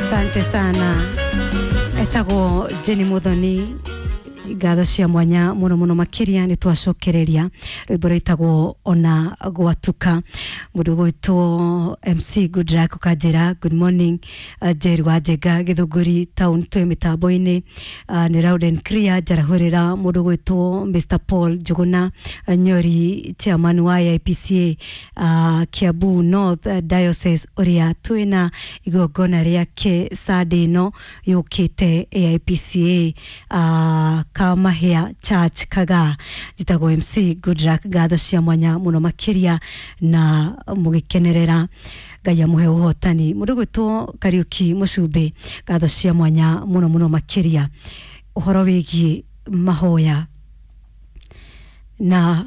Asante sana. Etagwo Jenny Muthoni, ngatho cia mwanya muno muno makiria. Ni twacokereria rwimbo rwitagwo Ona Gwatuka. Mundu gwitwo MC Goodluck ukanjira good morning, Jerry wa Njenga Githunguri town, twi mitambo-ini ni loud and clear. Njarahurira mundu gwitwo Mr Paul Njuguna, Nyori, chairman wa IPCA, Kiambu North Diocese, uria twina igongona riake Sunday ino yukite AIPCA, Kamahia Church Kagaa. Njitagwo MC Goodluck, ngatho cia mwanya muno makiria na mugikenerera. Ngai amuhe uhotani. Mundu gwitwo Kariuki Mucumbi, ngatho cia mwanya muno muno makiria. Uhoro wigie mahoya, na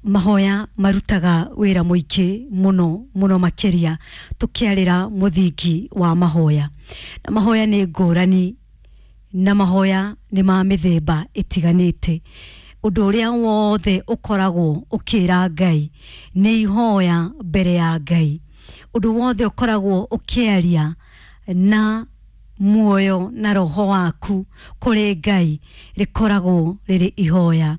mahoya marutaga wira muingĩ muno muno makiria, tukiarĩra mũthingi wa mahoya. Na mahoya nĩ ngũrani, na mahoya nĩ ma mĩthemba ĩtiganĩte. Ũndũ ũrĩa wothe ũkoragwo ũkĩra Ngai nĩ ihoya mbere ya Ngai. Ũndũ wothe ũkoragwo ũkĩaria na muoyo na roho waku kũrĩ Ngai rĩkoragwo rĩrĩ ihoya,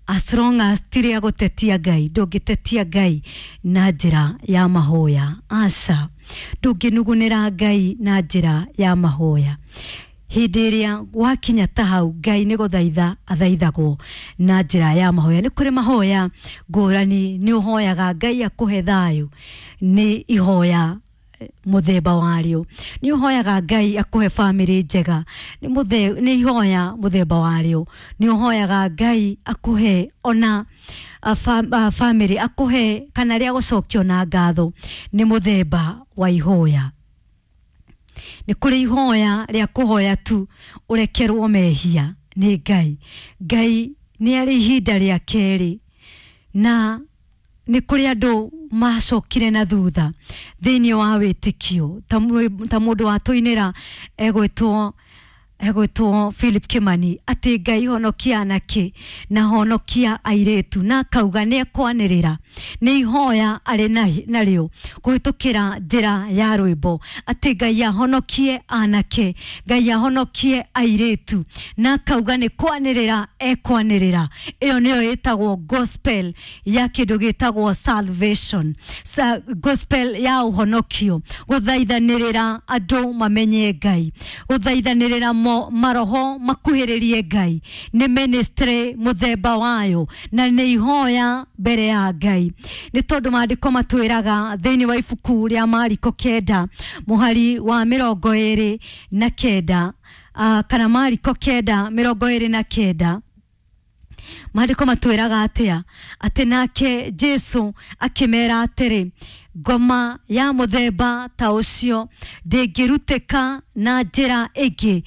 as long as ti rĩa gũtetia Ngai. Ndũngĩtetia Ngai na njĩra ya mahoya, aca. Ndũngĩnugunĩra Ngai na njĩra ya mahoya. Hĩndĩ ĩrĩa wakinya ta hau, Ngai nĩ gũthaitha athaithagwo na njĩra ya mahoya. Nĩ kũrĩ mahoya ngũrani. Nĩ ũhoyaga Ngai akũhe thayũ, nĩ ihoya mũthemba warĩo. Nĩ ũhoyaga Ngai akũhe bamĩrĩ njega, nĩ ihoya mũthemba warĩo. Nĩ ũhoyaga Ngai akũhe ona bamĩrĩ akũhe kana rĩa gũcokio na ngatho, nĩ mũthemba wa ihoya. Nĩ kũrĩ ihoya rĩa kũhoya tu ũrekerwo mehia nĩ Ngai. Ngai nĩ arĩ ihinda rĩa kerĩ, na nĩ kũrĩ andũ macokire na thutha thĩinĩ wa wĩtĩkio, ta mũndũ watũinĩra egwĩtwo Philip Kimani, atĩ Ngai honokia anake na honokia airĩtu, na akauga nĩ ekwanĩrĩra. Nĩ ihoya arĩ narĩo kũhĩtũkĩra njĩra ya rwĩmbo, atĩ Ngai ahonokie anake, Ngai ahonokie airĩtu, na akauga nĩ kwanĩrĩra ekwanĩrĩra. Ĩyo nĩyo ĩtagwo gospel ya kĩndũ gĩtagwo salvation. Gospel ya ũhonokio, gũthaithanĩrĩra andũ mamenye Ngai, gũthaithanĩrĩra maroho makuhĩrĩrie Ngai, nĩ ministry mũthemba wayo na nĩ ihoya mbere ya Ngai. Nĩ tondũ maandĩko matwĩraga thĩinĩ wa ibuku rĩa Mariko 9 mũhari wa 29, kana Mariko 9:29, maandĩko matwĩraga atĩa? Atĩ nake Jesu akĩmera atĩrĩ, ngoma ya mũthemba ta ũcio ndĩngĩrutĩka na njĩra ĩngĩ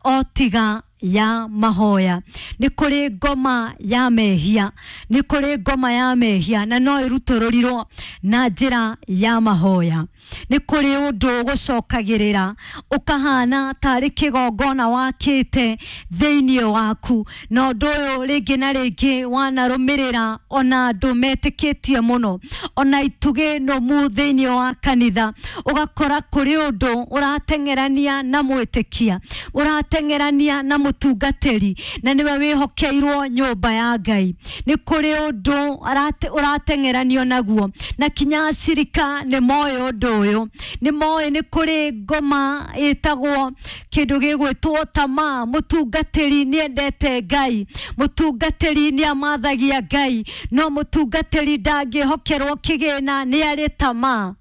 o tiga ya mahoya. Nĩ kũrĩ ngoma ya mehia, nĩ kũrĩ ngoma ya mehia, na no ĩrutũrũrirwo na njĩra ya mahoya. Nĩ kũrĩ ũndũ ũgũcokagĩrĩra ũkahana tarĩ kĩgongona wakĩte thĩinĩ waku, na ũndũ ũyũ rĩngĩ na rĩngĩ wanarũmĩrĩra ona andũ metĩkĩtie mũno, ona itugĩ nũmu thĩinĩ wa kanitha. Ũgakora kũrĩ ũndũ ũrateng'erania na mwĩtĩkia, ũrateng'erania na mũtungatĩri, na nĩwe wĩhokeirwo nyũmba ya Ngai. Nĩ kũrĩ ũndũ ũrateng'eranio naguo, na kinya acirika nĩ moĩ ũndũ ũyũ, nĩ moĩ nĩ kũrĩ ngoma ĩtagwo kĩndũ gĩgwĩtwo tamaa. Mũtungatĩri nĩ endete Ngai, mũtungatĩri nĩ amathagia Ngai, no mũtungatĩri ndangĩhokerwo kĩgĩna, nĩ arĩ tamaa.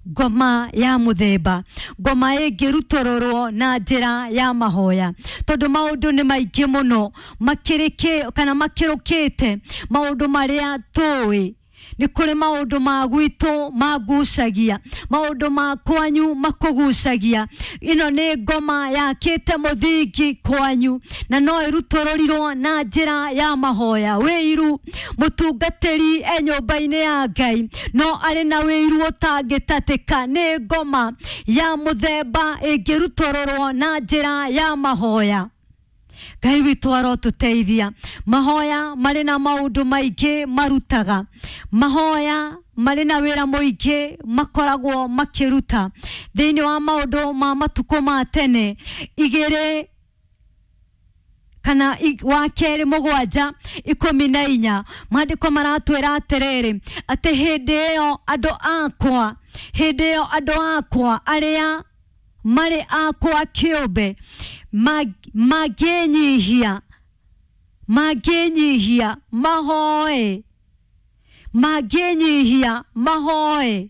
Ngoma ya mũthemba, ngoma ĩngĩrutũrũrwo na njĩra ya mahoya, tondũ maũndũ nĩ maingĩ mũno makĩrĩkĩ kana makĩrũkĩte maũndũ marĩa tũĩ. Nĩ kũrĩ maũndũ ma gwitũ magucagia, maũndũ ma kwanyu makũgucagia. Ĩno nĩ ngoma yakĩte mũthingi kwanyu, na no ĩrutũrũrirwo na njĩra ya mahoya. Wĩiru, mũtungatĩri e nyũmba-inĩ ya Ngai, no arĩ na wĩiru ũtangĩtatĩka, nĩ ngoma ya mũthemba ĩngĩrutũrũrwo na njĩra ya mahoya. Ngai witũ arotũteithia. Mahoya marĩ na maũndũ maingĩ marutaga, mahoya marĩ na wĩra mũingĩ makoragwo makĩruta thĩinĩ wa maũndũ ma matukũ ma tene igĩrĩ kana wa kerĩ 7 14 maandĩko maratwĩra atĩrĩrĩ atĩ hĩndĩ ĩyo andũ akwa, hĩndĩ ĩyo andũ akwa arĩa marĩ akwa kĩũmbe mangĩnyihia, mangĩnyihia mahoe, mangĩnyihia mahoe,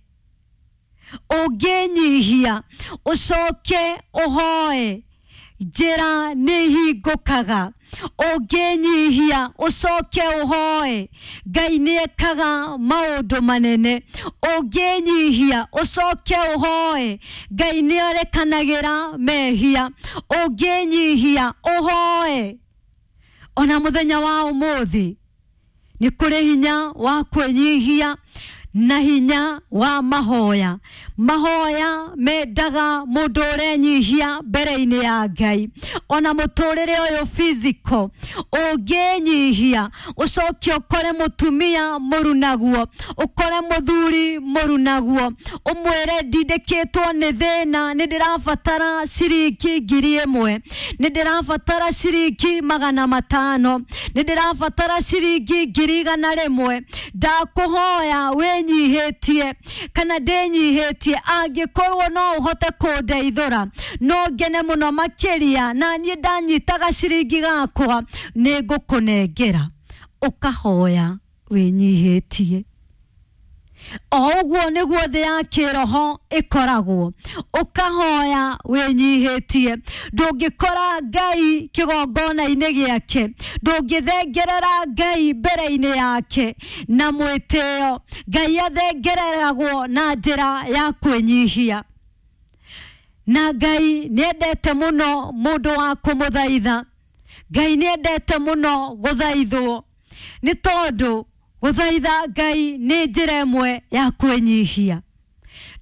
ũngĩnyihia ũcoke ũhoe, njĩra nĩ ihingũkaga. Ũngĩnyihia ũcoke ũhoe, Ngai nĩ ekaga maũndũ manene. Ũngĩnyihia ũcoke ũhoe, Ngai nĩ arekanagĩra mehia. Ũngĩnyihia ũhoe, ona mũthenya wa ũmũthĩ nĩ kũrĩ hinya wa kwĩnyihia na hinya wa mahoya. Mahoya mendaga mũndũ ũrenyihia mbere-inĩ ya Ngai. Ona mũtũrĩre ũyũ physical, ũngĩnyihia ũcoke ũkore mũtumia mũrunaguo, ũkore mũthuri mũrunaguo, ũmwĩre ndindĩkĩtwo nĩ thĩna, nĩ ndĩrabatara ciringi 1,000, nĩ ndĩrabatara ciringi 500, nĩ ndĩrabatara ciringi 100,000, ndakũhoya wĩnyihĩtie kana ndĩnyihĩtie, angĩkorwo no ũhote kũndeithũra no ngene mũno makĩria, na niĩ ndanyitaga ciringi gakwa nĩ ngũkũnengera. Ũkahoya wĩnyihĩtie. O ũguo nĩguo thĩ ya kĩroho ĩkoragwo, ũkahoya wĩnyihĩtie. Ndũngĩkora Ngai kĩgongona-inĩ gĩake, ndũngĩthengerera Ngai mbere-inĩ yake na mwĩtĩo. Ngai athengereragwo na njĩra ya kwĩnyihia. Na Ngai nĩendete mũno mũndũ wa kũmũthaitha. Ngai nĩendete mũno gũthaithwo, nĩ tondũ gũthaitha Ngai nĩ njĩra ĩmwe ya kwĩnyihia.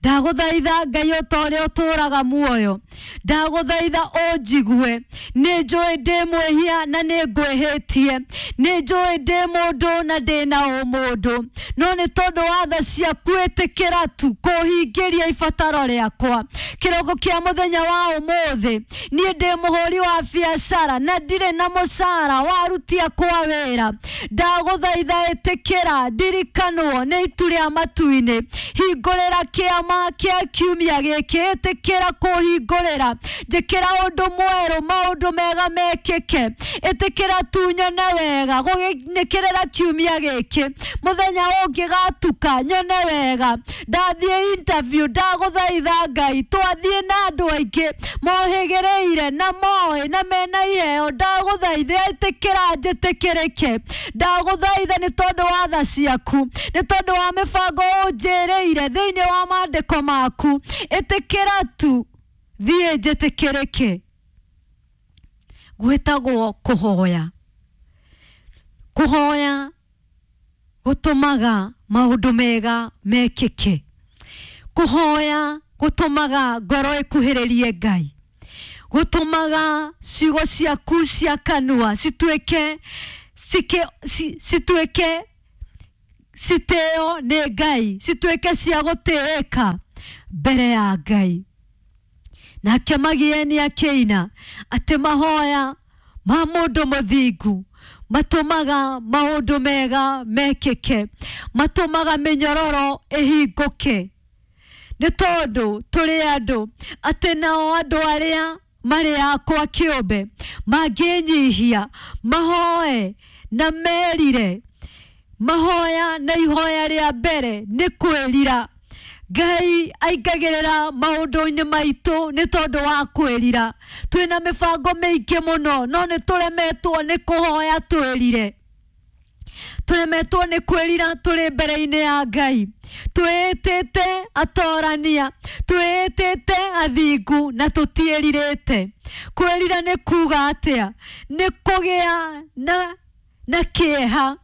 Ndagũthaitha Ngai o ta ũrĩa ũtũũraga muoyo, ndagũthaitha ũnjigue. Nĩ njũĩ ndĩ mwĩhia na nĩ ngwĩhĩtie, nĩ njũĩ ndĩ mũndũ na ndĩ na ũmũndũ, no nĩ tondũ wa tha ciaku ĩtĩkĩra tu kũhingĩria ibataro rĩakwa. Kĩroko kĩa mũthenya wa ũmũthĩ, niĩ ndĩ mũhũri wa biacara na ndirĩ na mũcara wa aruti akwa wĩra. Ndagũthaitha ĩtĩkĩra ndirikanwo nĩ itu rĩa matu-inĩ, hingũrĩra kĩama kĩa kiumia gĩkĩ, ĩtĩkĩra kũhingũrĩra, njĩkĩra ũndũ mwerũ, maũndũ mega mekĩke, ĩtĩkĩra tu nyone wega gũgĩnĩkĩrĩra kiumia gĩkĩ, mũthenya ũngĩgatuka nyone wega. Ndathiĩ interview, ndagũthaitha Ngai, twathiĩ na andũ aingĩ mohĩgĩrĩire na moĩ na mena iheo, ndagũthaitha ĩtĩkĩra njĩtĩkĩrĩke. Ndagũthaitha nĩ tondũ wa tha ciaku, nĩ tondũ wa mĩbango ũnjĩrĩire thĩinĩ wa maandĩko maku, ĩtĩkĩra tu thiĩ njĩtĩkĩrĩke. Gwĩtagwo kũhoya. Kũhoya gũtũmaga maũndũ mega mekĩke. Kũhoya gũtũmaga ngoro ĩkuhĩrĩrie Ngai, gũtũmaga ciugo ciaku cia kanua cituĩke cituĩke citĩo nĩ Ngai, cituĩke cia gũtĩĩka mbere ya Ngai. Nake Magieni akĩina atĩ mahoya ma mũndũ mũthingu matũmaga maũndũ mega mekĩke, matũmaga mĩnyororo ĩhingũke. Nĩ tondũ tũrĩ andũ, atĩ nao andũ arĩa marĩ akwa kĩũmbe mangĩnyihia mahoe na merire, mahoya na ihoya rĩa mbere nĩ kwĩrira. Ngai aingagĩrĩra maũndũ-inĩ maitũ nĩ tondũ wa kwĩrira. Twĩna mĩbango mĩingĩ mũno, no nĩ tũremetwo nĩ kũhoya twĩrire. Tũremetwo nĩ kwĩrira tũrĩ mbere-inĩ ya Ngai. Twĩĩtĩte atorania, twĩĩtĩte athingu na tũtiĩrirĩte. Kwĩrira nĩ kuga atĩa? Nĩ kũgĩa na kĩeha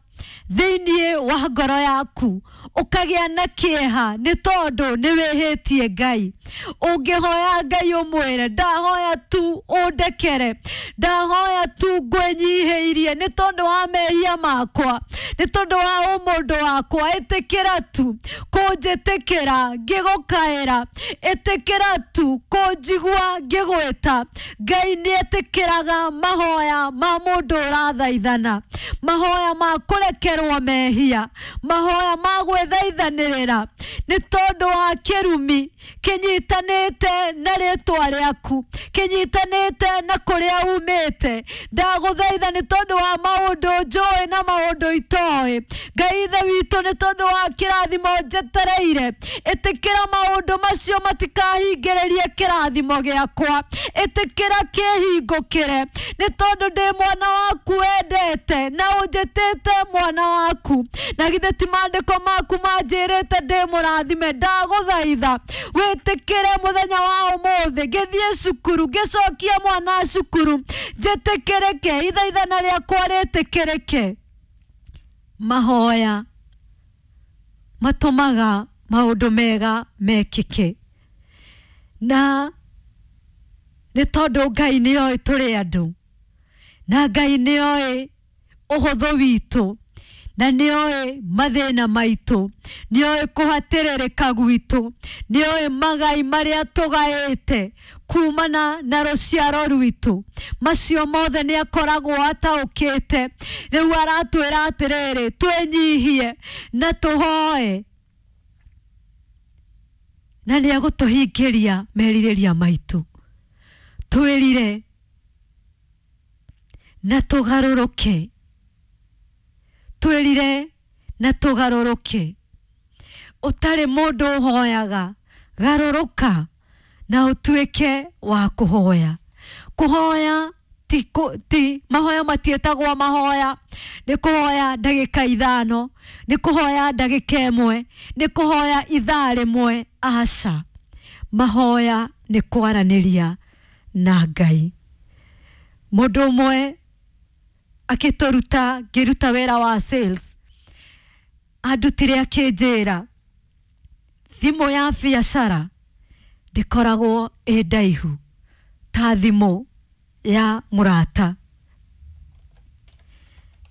thĩinĩ wa ngoro yaku, ũkagĩa na kĩeha nĩ tondũ nĩ wĩhĩtie Ngai. Ũngĩhoya Ngai ũmwĩre, ndahoya tu ũndekere, ndahoya tu ngwĩnyihĩirie nĩ tondũ wa mehia makwa, nĩ tondũ wa ũmũndũ wakwa, ĩtĩkĩra tu kũnjĩtĩkĩra ngĩgũkaĩra, ĩtĩkĩra tu kũnjigua ngĩgwĩta. Ngai nĩ etĩkĩraga mahoya ma mũndũ ũrathaithana, mahoya ma kũrekerwo mehia, mahoya ma gwĩthaithanĩrĩra nĩ tondũ wa kĩrumi kĩnyitanĩte na rĩtwa rĩaku, kĩnyitanĩte na kũrĩa umĩte. Ndagũthaitha nĩ tondũ wa maũndũ njũĩ na maũndũ itoĩ. Ngai ithe witũ, nĩ tondũ wa kĩrathimo njetereire, ĩtĩkĩra maũndũ macio matikahingĩrĩrie kĩrathimo gĩakwa, ĩtĩkĩra kĩhingũkĩre nĩ tondũ ndĩ mwana waku wendete na ũnjĩtĩte mwana waku, na githĩ ti maandĩko maku manjĩrĩte ndĩ mũrathime. Ndagũthaitha wĩtĩkĩre mũthenya wa ũmũthĩ ngĩthiĩ cukuru, ngĩcokia mwana cukuru, njĩtĩkĩrĩke, ithaithana rĩakwa rĩtĩkĩrĩke. Mahoya matũmaga maũndũ mega mekĩke, na nĩ tondũ Ngai nĩ oĩ tũrĩ andũ, na Ngai nĩ oĩ ũhũthũ witũ, na nĩ oĩ mathĩna maitũ, nĩ oĩ kũhatĩrĩrĩka gwitũ, nĩ oĩ magai marĩa tũgaĩte kumana na rũciaro rwitũ. Macio mothe nĩ akoragwo ataũkĩte. Rĩu aratwĩra atĩrĩrĩ, twĩnyihie na tũhoe, na nĩ egũtũhingĩria merirĩria maitũ. Twĩrire na tũgarũrũke, twĩrire na tũgarũrũke. Ũtarĩ mũndũ ũhoyaga, garũrũka na ũtuĩke wa kũhoya. Kũhoya ti mahoya matiĩtagwo mahoya, nĩ kũhoya ndagĩka 5, nĩ kũhoya ndagĩka 1, nĩ kũhoya ithaa 1. Aca, mahoya nĩ kwaranĩria na Ngai. Mũndũ ũmwe akĩtũruta, ngĩruta wĩra wa sales, andutire akĩnjĩra thimũ ya biacara ndĩkoragwo ĩ ndaihu ta thimũ ya mũrata.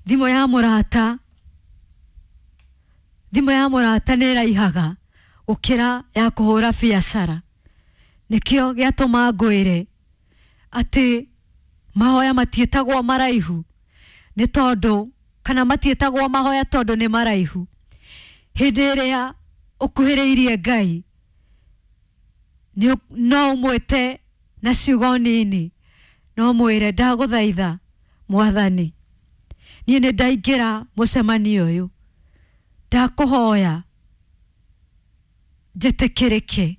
Thimũ ya mũrata, thimũ ya mũrata nĩ ĩraihaga gũkĩra ya kũhũra biacara. Nĩkĩo gĩatũma ngwĩre atĩ mahoya matiĩtagwo maraihu nĩ tondũ, kana matiĩtagwo mahoya tondũ nĩ maraihu. Hĩndĩ ĩrĩa ũkuhĩrĩirie Ngai, no ũmwĩte na ciugo nini, no mwĩre ndagũthaitha mwathani, niĩ nĩ ndaingĩra mũcemanio ũyũ, ndakũhoya njĩtĩkĩrĩke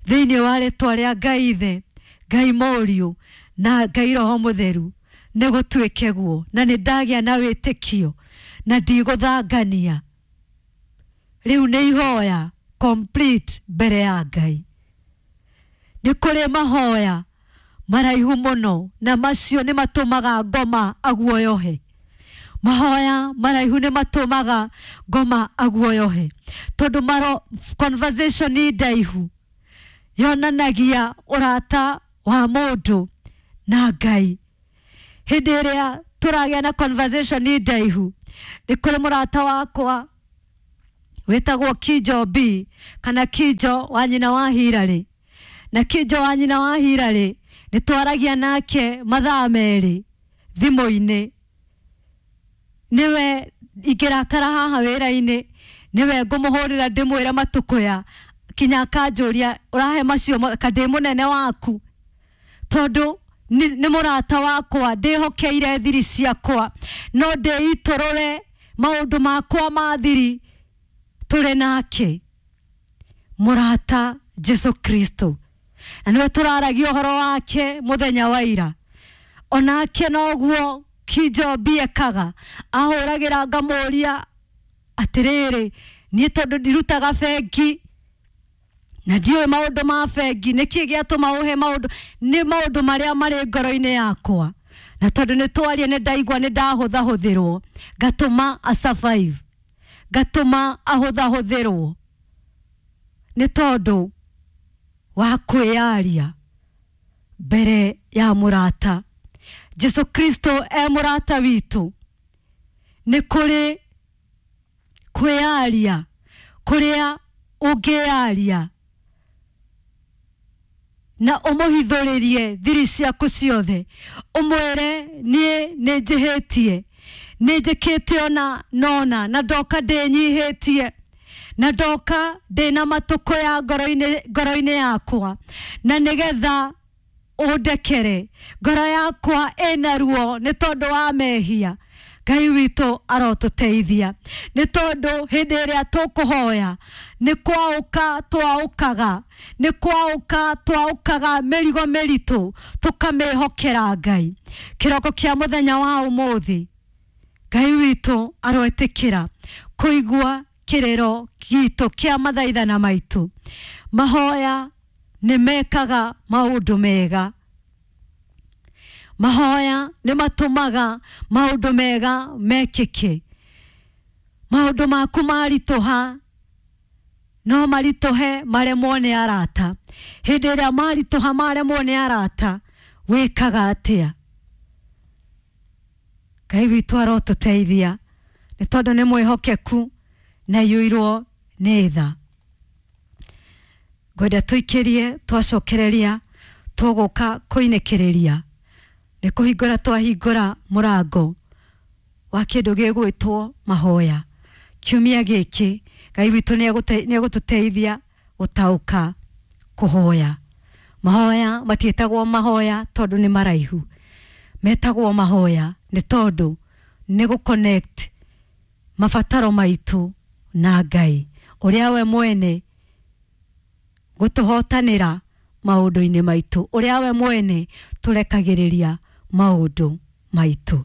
thĩinĩ wa rĩtwa rĩa Ngai Ithe, Ngai Mũriũ na Ngai Roho Mũtheru, nĩ gũtuĩke guo, na nĩ ndagĩa na wĩtĩkio na ndigũthangania. Rĩu nĩ ihoya complete mbere ya Ngai. Nĩ kũrĩ mahoya maraihu mũno, na macio nĩ matũmaga ngoma aguoyohe. Mahoya maraihu nĩ matũmaga ngoma aguoyohe, tondũ maro conversation ndaihu yonanagia ũrata wa mũndũ na Ngai. Hĩndĩ ĩrĩa tũragĩa na conversation ndaihu, nĩ kũrĩ mũrata wakwa wĩtagwo Kijo B, kana Kijo wa nyina wa Hirarĩ. Na Kijo wa nyina wa Hirarĩ nĩ twaragia nake mathaa 2 thimũ-inĩ. Nĩwe ingĩrakara haha wĩra-inĩ, nĩwe ngũmũhũrĩra ndĩmwĩre matukũya, kinya akanjũria ũrahe macio ka ndĩ mũnene waku, tondũ nĩ mũrata wakwa, ndĩhokeire thiri ciakwa, no ndĩitũrũre maũndũ makwa ma thiri tũrĩ nake. Mũrata Jesu Kristo, na nĩwe tũraragia ũhoro wake mũthenya wa ira. Onake noguo Kijo B ekaga, ahũragĩra ngamũria atĩrĩrĩ, niĩ tondũ ndirutaga bengi na ndiũĩ maũndũ ma bengi, nĩkĩ gĩatũma ũhe maũndũ? Nĩ maũndũ marĩa marĩ ngoro-inĩ yakwa, Na tondũ nĩ twaria nĩ ndaigua nĩ ndahũthahũthĩrwo, ngatũma a survive, ngatũma ahũthahũthĩrwo nĩ tondũ wa kwĩyaria mbere ya mũrata. Jesu Kristo e mũrata witũ. Nĩ kũrĩ kwĩyaria kũrĩa ũngĩyaria na ũmũhithũrĩrie thiri ciaku ciothe, ũmwĩre niĩ nĩ njĩhĩtie, nĩ njĩkĩte ona nona, na ndoka ndĩnyihĩtie, na ndoka ndĩna matũkũ ya ngoro-inĩ yakwa, na nĩgetha ũndekere. Ngoro yakwa ĩna ruo nĩ tondũ wa mehia. Ngai witũ arotũteithia, nĩ tondũ hĩndĩ ĩrĩa tũkũhoya nĩ kwaũka twaũkaga, nĩ kwaũka twaũkaga mĩrigo mĩritũ tũkamĩhokera Ngai. Kĩroko kĩa mũthenya wa ũmũthĩ, Ngai witũ aroĩtĩkĩra kũigua kĩrĩro gitũ kĩa mathaithana maitũ. Mahoya nĩ mekaga maũndũ mega, mahoya nĩ matũmaga maũndũ mega mekĩke. Maũndũ maku maritũha no maritũhe maremwo nĩ arata. Hĩndĩ ĩrĩa maritũha maremwo nĩ arata, wĩkaga atĩa? Ngai witũ arotũteithia, nĩ tondũ nĩ mwĩhokeku na iyũirwo nĩ tha. Ngwenda tũikĩrie, twacokereria tũgũka kũinĩkĩrĩria nĩ kũhingũra twahingũra mũrango wa kĩndũ gĩgwĩtwo mahoya. Kiumia gĩkĩ Ngai witũ nĩ egũtũteithia gũtaũka kũhoya. Mahoya matiĩtagwo mahoya tondũ nĩ maraihu, metagwo mahoya nĩ tondũ nĩ gũ connect mabataro maitũ na Ngai ũrĩa we mwene gũtũhotanĩra maũndũ-inĩ maitũ, ũrĩa we mwene tũrekagĩrĩria maũndũ maitũ.